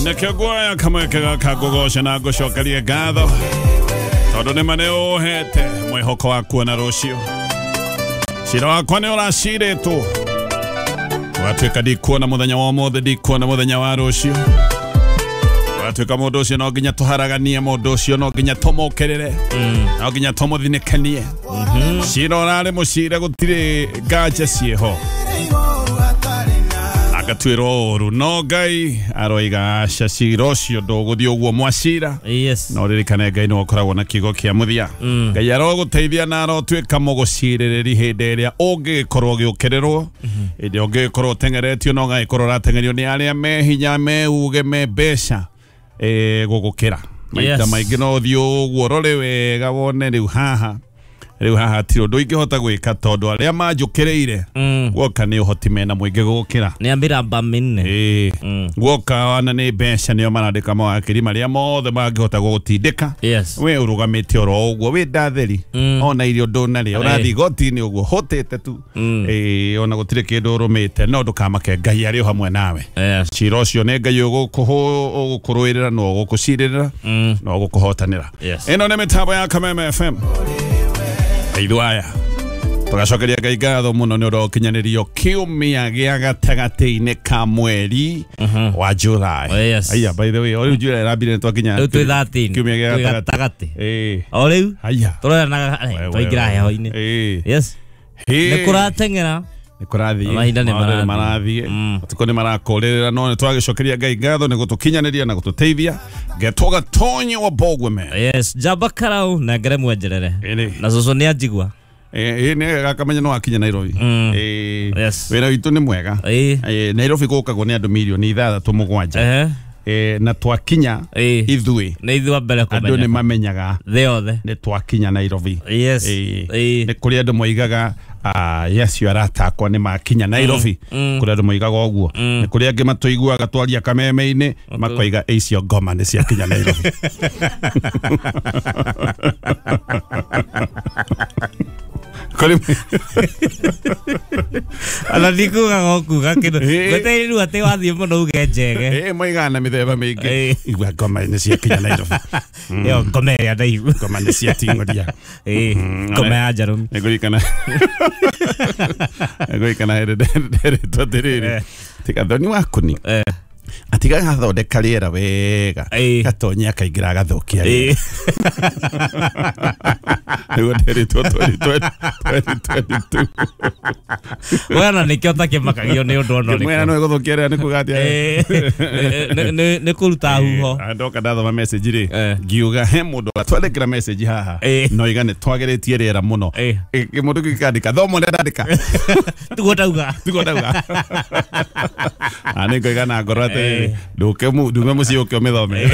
Nĩkĩo nguoya kamweke gaka ngũgoce na ngũcokerie ngatho tondũ nĩma nĩ ũhete mwĩhoko wa kuona rũciũ. Cira wakwa nĩ ũracirĩtwo ũgatuĩka ndikuona mũthenya wa ũmũthĩ, ndikuona mũthenya wa rũciũ. Ũgatuĩka mũndũ ũcio no nginya tũharaganie, mũndũ ũcio no nginya tũmũkĩrĩre, no nginya tũmũthinĩkanie. Cira ũrarĩ mũcire, gũtirĩ nganja ciĩho, agatuĩrwo ũru, no Ngai aroiga aca, cira ũcio ndũgũthiĩ ũguo mwacira. Yes. No ririkane Ngai nĩwe ũkoragwo na kiugo kĩa mũthia. Ngai arogũteithia na arotuĩka mũgũcirĩrĩri hĩndĩ ĩrĩa ũngĩgĩkorwo ũgĩũkĩrĩrwo, hĩndĩ ĩrĩa ũngĩgĩkorwo ũteng'eretio, no ũgagĩkorwo ũrateng'erio nĩ arĩa me hinya, me uge, me mbeca gũgũkĩra. Maita Yes. maingĩ no ũthiĩ ũguo ũrore wega wone rĩu haha, rĩu haha hatirĩ ũndũ ingĩhota gwĩka tondũ arĩa manjũkĩrĩire guoka nĩ ũhoti mena mũingĩ gũgũkĩra. Nĩ ambĩramba mĩnene. Ĩĩ, guoka wana nĩ mbeca nĩo marandĩka mawakiri marĩa mothe mangĩhota gũgũtindĩka. Yes. We ũrũgamĩte oro ũguo wĩ ndatheri, ona irio ndũnarĩa, ũrathiĩ igoti-inĩ ũguo hũtĩte tu. Ĩĩ, ona gũtirĩ kĩndũ ũrũmĩte, no ndũkamake, Ngai arĩ o hamwe nawe. Yes. Cira ũcio nĩ Ngai ũgũkũrũĩrĩra na ũgũkũcirĩrĩra na ũgũkũhotanĩra. Yes. Ĩno nĩ mĩtambo ya Kameme FM. Ithuĩ aya tũgacokeria Ngai ngatho mũno nĩ ũndũ wa ũkinyanĩrio kiumia gĩa gatagatĩ-inĩ ka mweri wa July. Oh, yes. Aya, by the way, o rĩu July ĩrambire nĩ twakinya Rĩu twĩ 13. kiumia gĩa Twĩ gatagatĩ. gatagatĩ. Ĩĩ. O rĩu Aya. tũroranaga We, we, twaingĩra we. heho-inĩ. Ĩĩ. Yes. Hĩ. Nĩ kũrateng'era. Nĩ kũrathiĩ. Mahinda nĩ Maũndũ nĩ marathiĩ. marathiĩ. Matukũ nĩ marakũrĩrĩra, no nĩ twagĩcokeria Ngai ngatho nĩ gũtũkinyanĩria na gũtũteithia. Ngetwo Gatonyi wa Bogweme. Yes. Njamba karau na ngere mwenjerere. Ĩrĩ. Na cũcũ nĩ anjigua. Ĩĩ, nĩ gakamenya no wakinya Nairobi. Ĩĩ. Yes. Wĩra witũ nĩ mwega. Ĩĩ. Ĩĩ, Nairobi gũkagwo nĩ andũ mirioni ithathatũ mũgwanja. Ehe. Ĩĩ, na twakinya Ĩĩ. ithuĩ Nĩ ithuĩ a mbere andũ nĩ kũmenya. mamenyaga Thĩ yothe. nĩ twakinya Nairobi. Yes. Ĩĩ. Ĩĩ. Nĩ kũrĩ andũ moigaga acio aratakwa nĩ makinya Nairobi. Kũrĩ andũ moigaga ũguo. Nĩ kũrĩ angĩ matũiguaga twaria kameme-inĩ makoiga icio ngoma nĩ ciakinya Nairobi. Kũrĩ Ona ndikugaga ũkuga kĩndũ. Ĩĩ. Ngwetereire rĩu atĩ wathiĩ mũno uge njege. Ĩĩ, moigaga na mĩthemba mĩingĩ. Ĩĩ. Igua ngoma nĩ ciakinya Nairobi. Ĩyo ngoma ĩrĩa ndaihu. Ngoma nĩ ciating'oria. Ĩĩ. Ngoma ya njarũmi. Nĩngũririkana nĩngũririkana hĩndĩ nderetwo atĩrĩrĩ, tiga thoni waku ni atiga gathondeka rĩera wega, Ĩĩ. gatonye akaingĩra agathũkia rĩera. Ĩĩ. Nĩguo nderetwo 2022. We ona nĩkĩo ũtakĩmakagio nĩ ũndũ ona Ngĩmwĩra ũrĩkũ. no ĩgũthũkia rĩera nĩ kuga atĩa? Ĩĩ. Nĩ kũruta huho. Ndoka ndathoma message rĩ, Eh. ngiuga he mũndũ atwandĩkĩra message haha Ĩĩ. no iga nĩ twagĩrĩtie rĩera mũno. Ĩĩ. Mũndũ kĩkandĩka thoma ũrĩa ndandĩka. Tiguo ndauga. Tiguo ndauga. Na nĩ ngoiga na ngoro atĩrĩrĩ, Ĩĩ. ndũke ndume mũciĩ ũke ũmĩthome.